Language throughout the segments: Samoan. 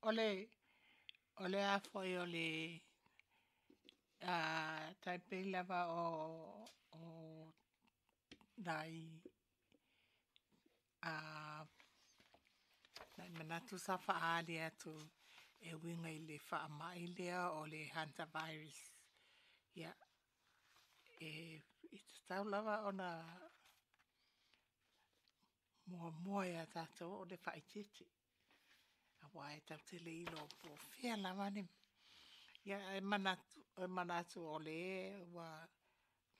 O le a foi o le tai pei lava o nai manatu sa faaali atu e uiga i le faamai lea o le Hantavirus. Ia, e tatau lava ona muamua ia tatou o le faaeteete, aua e tatou te le iloa po o fea lava le... Ia ae manatu o lea ua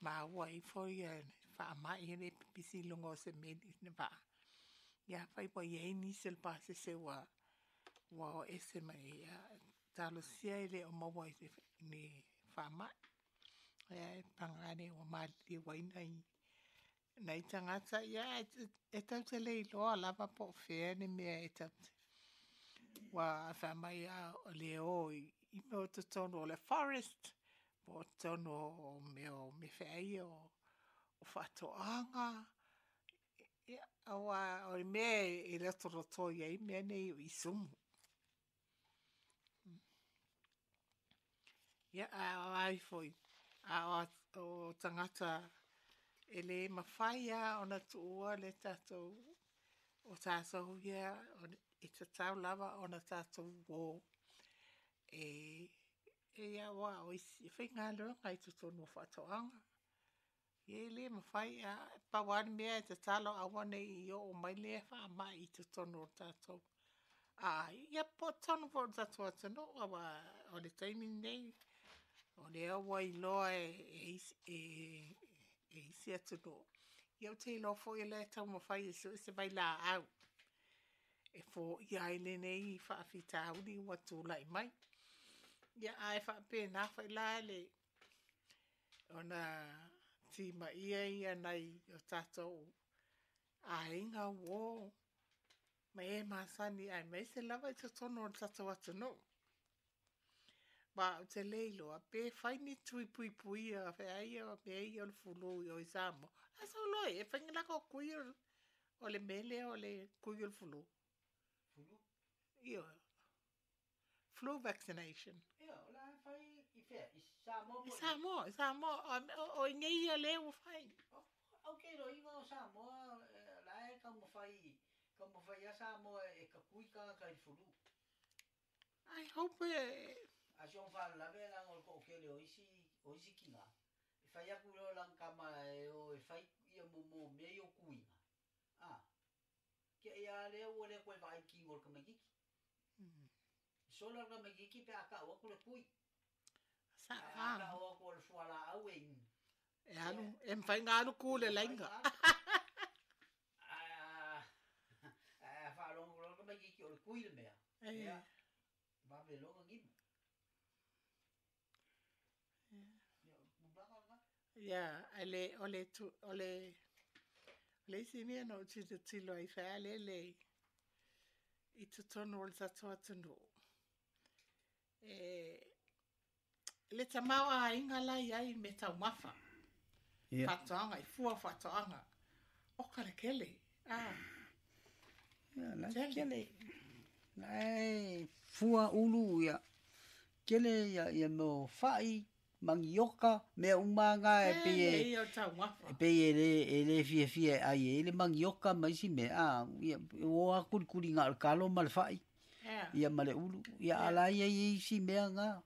maua ifo le faamai lea e pipisi i luga o se meli le vaa. Ia afai ua i ai nisi o le pasese ua o ese mai ai, ia talosia e le o maua i ni faamai. Ae paga lea ua maliliu ai nai tagata, ia ae tatou te le iloa lava po o fea le mea e tatou te... Aua fai mai o le o i mea o totonu o le forest, po o totonu o mea o feai ia o faatoaga. Ia aua o le mea e lotolotoi ai mea nei o isumu. Ia a o ai foi, a o tagata e le mafai lava ona tuua le tatou, o tatou ia e tatau lava ona tatou o e aua o isi e faigaluega i totonu o faatoaga. Ia e le mafai, pau lava le mea e tatalo aua ne i oo mai lea faamai i totonu o tatou aiga, po o totonu foi o le tatou atunuu, aua o le taimi lenei, o lea ua iloa e isi atunuu. Ia ou te iloa foi o la e taumafai e sue se vailaau e foia ai lenei faafitauli ua tulai mai. Ia ae faapena foi la le ona timaia nai o tatou aiga, uo ma e masani aemaise lava i totonu o le tatou atunuu. Aua ou te le iloa pe fai ni tui puipuia feai o mea ia o le flu i o i Samoa. A sau loa e fai ni latou tui o le mea lea o le tui o le flu. Flu? Ioe. Flu vaccination. Ia, o le a fai i fea? I Samoa po o i? I Samoa, o i inei ia lea ua fai. Ou te iloa o Samoa la e taumafai, taumafai lava Samoa e tatui tagata i le flu. I hope e... A si ona faalavelave leaga o le toatele o isi, o isi tina, e fai atu loa lana tama e o e fai ia mo mea ia o tuiga, a, tiai lava lea ua le toe vaai i le tino o le tamaitiiti. E sola le tamaitiiti pe a tau atu le tui. Ae a tau atu o le fualaau e inu. E alu, e mafai ona alu tu i le laina. Ae a faalogo loa le tamaitiiti o le tui le mea, ia, vave loa ona ninu. Ia, o le tulaga lena. Ia, o le isi mea na ou tilotilo ai faalele i totonu o le tatou atunuu, le tamaoaiga la e i ai i meataumafa, faatoaga, i fua o faatoaga, oka le tele. Ia, la e tele. La e fua ulu, ia, tele ia, ia mea o fai, manioka, mea uma lava na e pei e, e pei e le fiafia e ai ai le manioka ma isi mea, a, ia, ua o lava kulikuli na o le talo ma le fai, ia ma le ulu, ia a o la e i ai isi mea na.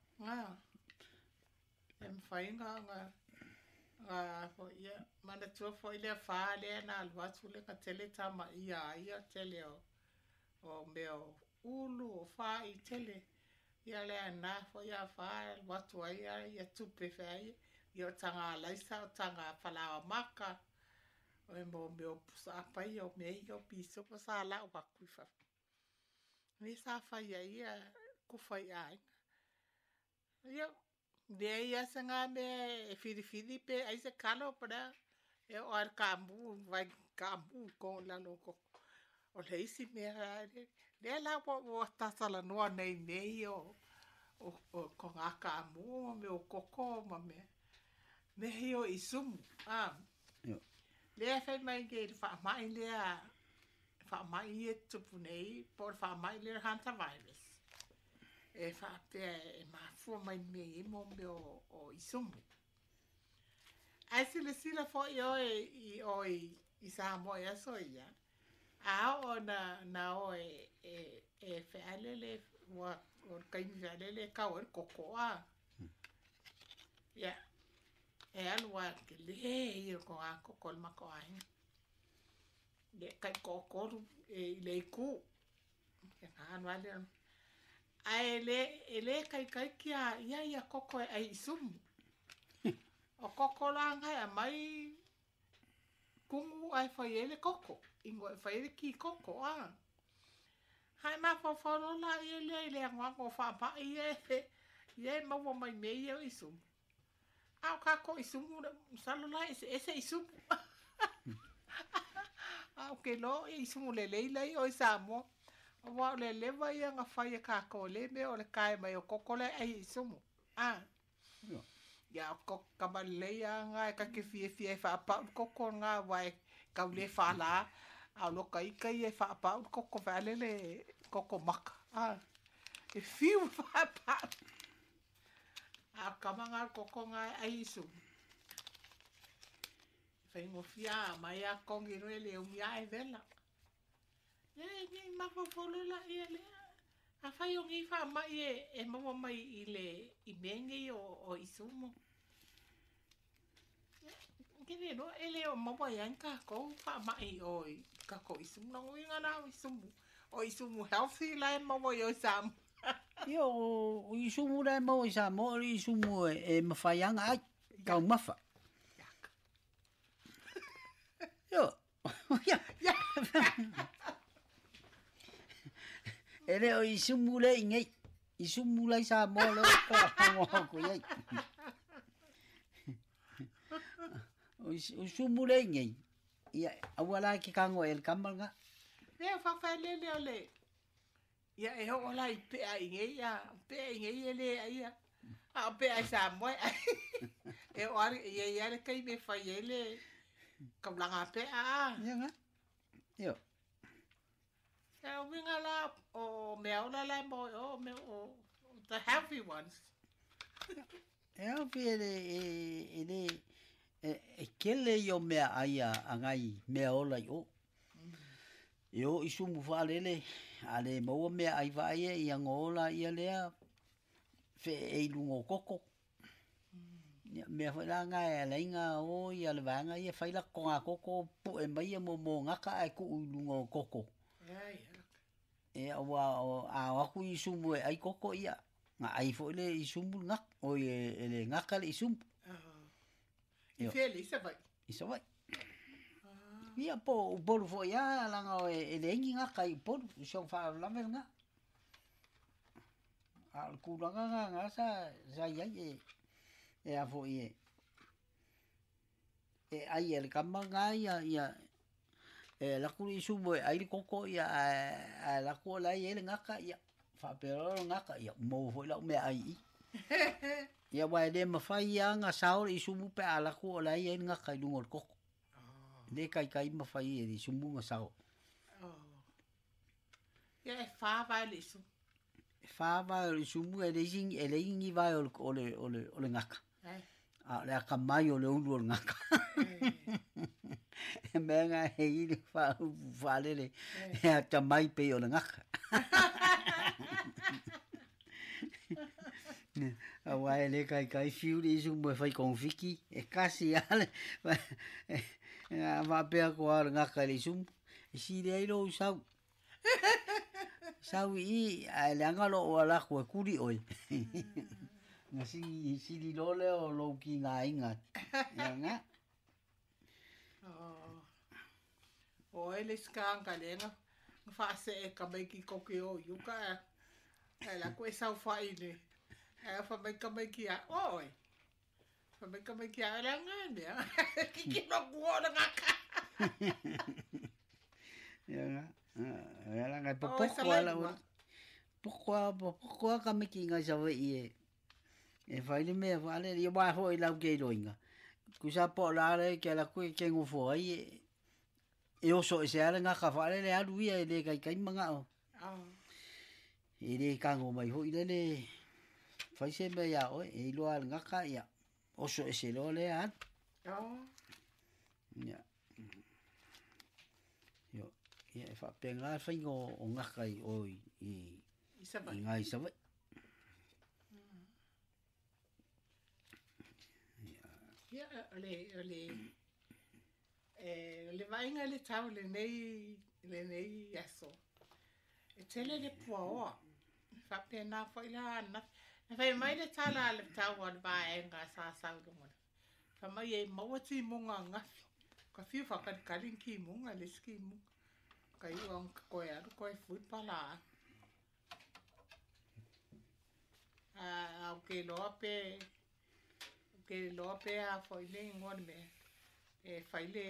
E mafai ona foi, ia, manatua foi le afa lea na alu atu lea na tele tamaia ai ia tele o mea o ulu, o fai, tele. Ia lea na foi afa e alu atu ai ia tupe feai, ia o taga alaisa, o taga falaoa maka, o e mo mea o pusaapa ia, o mea ia o pisupo sa lau atu i fafo. Lea sa fai ai ia kufa i aiga. Ia, leai lava se ga mea e filifili pe ai se kalo po o le a. E oo lava i le kaamu, vai kaamu i lalo o koko. O le isi mea lea la ua talatalanoa nei i mea ia o toga kaamu ma mea o koko ma mea ia o isumu. Lea e fai mai nei i le faamai lea, faamai ia e tutupu nei, po o le faamai lea o le hantavirus. E faapea e mafua mai mea i mo mea o isumu. Ae silasila foi oe i oe i Samoa i aso ia, a oo na oe e fealele, ua o le taimi fealele e kau ai le koko a. Ia, e alu a tele ia o le koko o le matou aiga. Ia, tai toatolu e i le itu. Ia, na alu lava lea. Ae e le taitai kia ia ia koko e ai isumu. O koko la ngai aumai kumu ae fai ai le koko. Ingo e fai ai le ki koko a. Hae mafaufau loa laia lea i le anoano o faamai ia e maua mai mea ia o isumu. A o tatou isumu, masalo la e eseese isumu. A o ke iloa o isumu lelei lai o i Samoa. Aua o le leva ia na fai e tatou le mea o le tae mai o koko la e ai isumu. A. Ia o koko kama lelei a ngā e kake fiafia e faapau le koko ngā aua e tau le fālā. A o loka ika ia e faapau le koko fealele koko maka. A. E fiu faapau. A o kama ngā le koko ngā e ai isumu. Faigofie mai a kongi roe le umi a e vela. Ia e nei mafaufau loa laia lea. Afai o nei faamai e maua mai i le i mea nei o isumu. Ke le iloa e le o maua ai ni tatou faamai o i tatou isumu. Lona uiga la o isumu. O isumu healthy la e maua i o i Samoa. Ia o isumu la e maua i Samoa o le isumu e mafai lava ona ai, taumafa. Io. Ia. E le o isumu le i nei. Isumu la i Samoa le o ka ko iai. O isumu le i nei. Ia, aua la ke kango e le kama nga. Lea whawhaelele o le. Ia e ho la i pea i nei ia, pea i nei e le ia. A o pea i Samoa. E o ari ia ia le kai me whai e le kaulanga pea a. Ia nga. Io. Ia o winga la o mea ola la mo o mea o the healthy ones. E au fi e le e le e kele i o mea ai a ngai mea ola i o. E o isumu whaalele, a le maua mea ai vaai e ia ngola ia lea fe e ilungo koko. Ia mea foi la ngai a leinga o ia le vaanga ia whai la konga koko pu e mai mo mo ngaka ai ku ilungo koko. E aua o a aku isumu e ai koko ia. Nga ai foi le isumu ngak o e le ngaka le isumu. I fele i Savai. I Savai. Ia po upolu foi a langa o e le ingi ngaka i upolu i song whaalave nga. A le kūlanga ngā ngā sa iai e a foi e. E ai e le kama ngā ia ia e laku le isumu e ai le koko ia a laku o lai e le ngaka ia. Whaapera o ngaka ia mou foi lau mea ai i. Ia wai le mawhai ia ngā sao le isumu pe a laku o lai e le ngaka i lunga o le koko. Le kai kai mawhai e le isumu ngā sao. Ia e whā vai le isumu. E whā vai o le isumu e le ingi vai o le ngaka. A le aka mai o le ulu o le ngaka. E mea ngā he i le whaalele e ata mai pe o le ngaka. A wai le kai kai fiu le isumu e whai konfiki e kasi ale a wapea ko a le ngaka le isumu. E siri ai lo sau. Sau i a le anga lo o ala koe kuri oi. Nga siri lo leo o lo ki ngā inga. Ia nga. O e le skanga le nga whaase e ka mai ki koke o yuka e la koe sau whai le. E wha mai ka mai ki a oi. Wha mai ka mai ki a le nga mea. Kiki no kuo le ngaka. Ia nga. Ia la ngai popoko ala o. Popoko a ka miki ngai sawe i e. E whai le mea whaale, ia wā hoi lau kei roinga. Kusa po la le ke la koe ke ngofo ai e oso e se ale ngaka whaale le alu ia e le kai kai manga o. E le tago mai foi lele fai se mea iā oe e iloa lava e le gata ia oso ese loa lea alu. Ia. Ioe, ia e faapena le faiga o gata i o i i ina i Savaii. Ia, o le, o le vaaiga i le tau i lenei aso, e tele le puaoa. E faapena foi la ananafi. Na fai mai le tala a le tau a le vaega sa sau i luga, fai mai e maua timuga ananafi. Ka fiu faakalikali ni timuga, e leai se timuga. Ka iu lava ina toe alu toe fui le palaau. Ae ou te iloa pe, ou te iloa pe a foi le igoa o le mea, e fai le,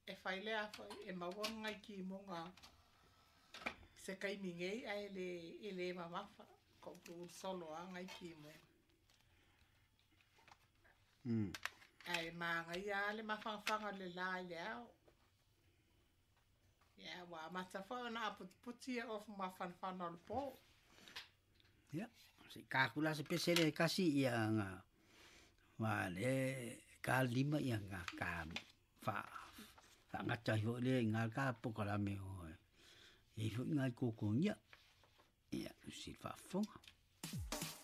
e fai le a foi, e maua ni nai timuga i se taimi nei ae e le mamafa, toauluulu solo lava nai timuga. Ae manaia lava le mafanafana o le la i le ao. Ia, ua amata foi ona aputiputi ofu mafanafana o le po. Ia, se i ta atu la se pese lea e tasi ia na aua o lea e ta le lima ia na ta faagata ai foi lea i ina le ta polokalame e i ai foi nai tuatuagia. Ia, silasila faafofoga.